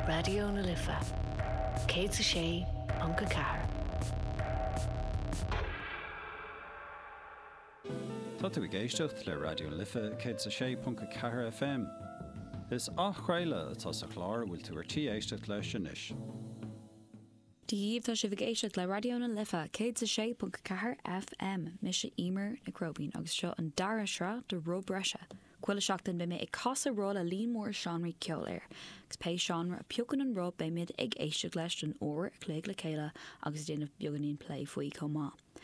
Raidió na Life 106.4. Tá tú ag éisteacht le Raidió na Life 106.4 FM. Is athchraoladh atá sa chlár a bhfuil tú ar tí éisteacht leis anois. Dia dhaoibh, tá sibh ag éisteacht le Raidió na Life 106.4 FM. Mise Emer Nic Róibín agus seo an dara sraith de Roth Breise. Chuile sheachtain beidh mé ag casadh roth le líon mór seánraí ceoil air. Agus pé seánra a phiocann an roth beimid ag éisteacht leis don uair a chloig le chéile agus ag déanamh beagáinín plé faoi chomh maith.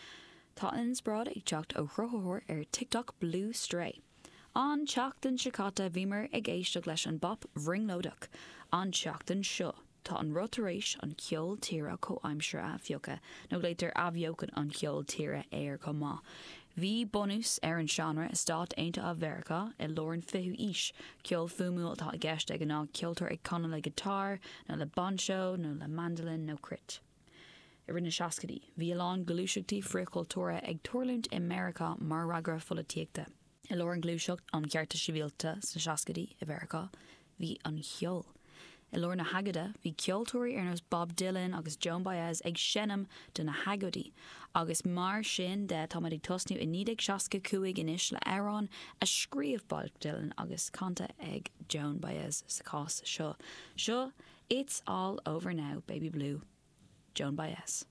Tá an inspioráid ag teacht ó chruthaitheoir ar TikTok Blue Stray. An tseachtain seo caite bhíomar ag éisteacht leis an bpop bhrionglóideach. An tseachtain seo. Tá an roth tar éis an ceol tíre comhaimseartha a phiocadh, nó glaoitear athbheochan an cheoil tíre air chomh maith. Bhí bunús ar an seánra i Stáit Aontaithe Mheiriceá i lár an 20ú aois. Ceol fuaimiúil atá i gceist de ghnáth, ceoltóir ag canadh le giotár, nó le bainseó, nó le mandolin nó cruit. I rith na seascaidí, bhí a lán gluaiseachtaí frithchultúrtha ag tarlúint i Meiriceá mar fhreagra pholaitíochta. I lár an ghluaiseacht um chearta sibhialta sna seascaidí i Mheiriceá, bhí an cheol. I lár na hagóide, bhí ceoltóirí ar nós Bob Dylan agus Joan Baez ag seinm do na hagóidí. Agus mar sin de, táimid ag tosnú i 1965 anois le amhrán a scríobh Bob Dylan agus canta ag Joan Baez sa chás seo. Seo It's All Over Now, Baby Blue, Joan Baez.